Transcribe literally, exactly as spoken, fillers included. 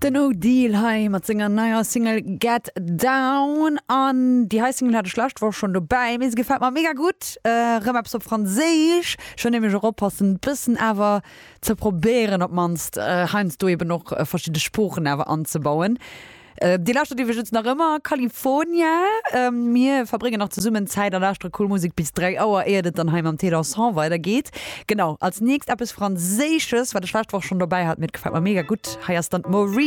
Den O'Deal hei mat senger neier Single Get Down an déi hei Single hat ech lescht Woch schonn dobäi, mee se gefält mer mega gutt. Äh, rëm eppes op Franséisch, schonn nämlech och oppassen, bëssen awer ze probéieren op mannst äh, heiansdo eben och äh, verschidde Sproochen awer anzebauen. Äh, Dir lauschtert iwwregens nach ëmmer California. Ähm, mir verbréngen nach zesummen Zäit a lauschtere cool Musek bis dräi Auer, éier et dann hei mam Taylor Song weidergeet. Genau, als nächst eppes Franséisches, wat ech lescht Woch schonn dobäi hat, mee gefält mer mega gutt. Hei ass dann d'Maureen.